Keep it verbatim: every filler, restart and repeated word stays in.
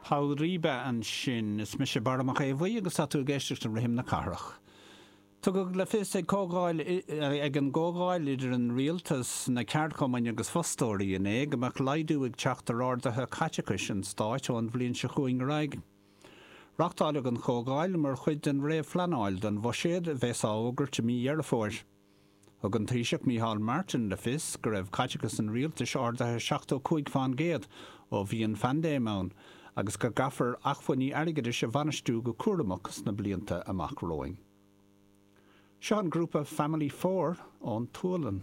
Paul Ribe ansin. Is mise Barra Mac Aodha Bhuí agus tá tú ag éisteacht le Rithim na Cathrach. Tugadh le fios ag comhdháil ag an gcomhdháil idir an rialtas, na ceardchumainn agus fostóirí inné go mbeadh laghdú ag teacht ar arduithe caiteachais an stáit ón bhliain seo chugainn ar aghaidh. Reáchtáladh an chomhdháil mar chuid den réamhphleanáil don bhuiséad a bheas á fhógairt i mí Dheireadh Fómhair. Thug an Taoiseach Micheál Martin le fios go raibh caiteachas an rialtais ardaithe seachtó cúig faoin gcéad ó bhí an phaindéim ann agus go gcaithfear acmhainní airgeadais a bhainistiú go cúramach sna blianta amach romhainn. Seo an grúpa Family Four ón tSualainn.